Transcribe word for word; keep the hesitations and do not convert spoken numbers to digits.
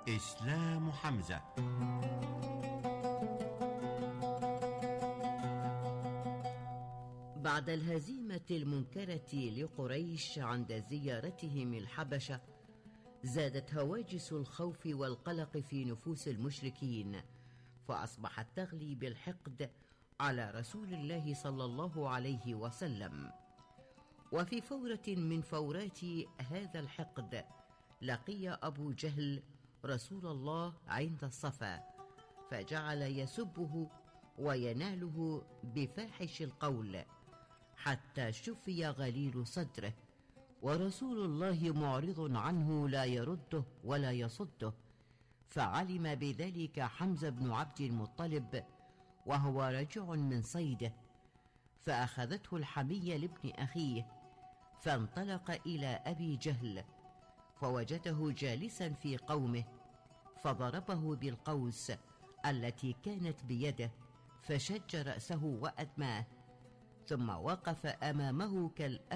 إسلام حمزة. بعد الهزيمة المنكرة لقريش عند زيارتهم الحبشة، زادت هواجس الخوف والقلق في نفوس المشركين، فأصبحت تغلي بالحقد على رسول الله صلى الله عليه وسلم. وفي فورة من فورات هذا الحقد لقي أبو جهل رسول الله عند الصفا، فجعل يسبه ويناله بفاحش القول حتى شفي غليل صدره، ورسول الله معرض عنه لا يرده ولا يصده. فعلم بذلك حمزة بن عبد المطلب وهو راجع من صيده، فأخذته الحمية لابن أخيه، فانطلق إلى أبي جهل فوجده جالسا في قومه، فضربه بالقوس التي كانت بيده فشج رأسه وأدماه، ثم وقف أمامه كالأسد